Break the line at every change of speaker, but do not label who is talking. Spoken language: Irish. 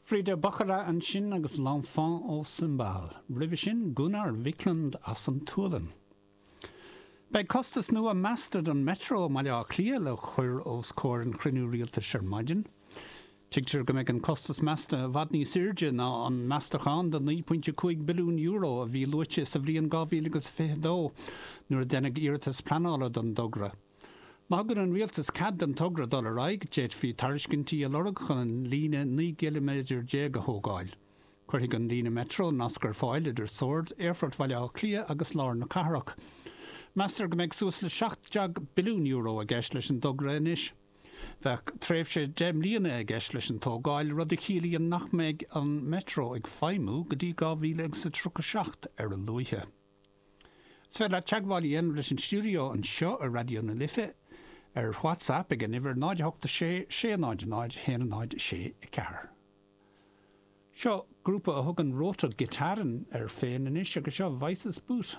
Frida Boccara ansin agus L'Enfant au Cymbale. Roimhe sin, Gunnar Viklund as an tSualainn. Beidh costas nua measta don Metro i mBaile Átha Cliath le cur os comhair an chruinniú rialtais ar maidin. Tuigtear go mbeidh an costas measta i bhfad níos airde ná an meastachán de €9.5 billiún a bhí luaite sa bhliain 2022 nuair a deineadh iarratas pleanála don dtogra. Má thugann an Rialtas cead don togra dul ar aghaidh, d'fhéadfaí tairiscintí a lorg chun an líne 19 gciliméadar a thógáil. Cuirfidh an líne Metro nasc ar fáil idir Sord, Aerfort Bhaile Átha Cliath agus lár na cathrach. Meastar go mbeidh suas le €17 billiún i gceist leis an dtogra anois. Bheadh tréimhse 10 mbliana i gceist leis an tógáil, rud a chiallaíonn nach mbeidh an Metro ag feidhmiú go dtí 2037 ar a luaithe. Is féidir leat teagmháil a dhéanamh leis an stiúideo anseo i Raidió na Life ar WhatsApp ag an uimhir 0 8 6 6 0 0 1 0 6 4. Seo grúpa a thugann Rote Gitarren air féin anois agus seo Weißes Boot.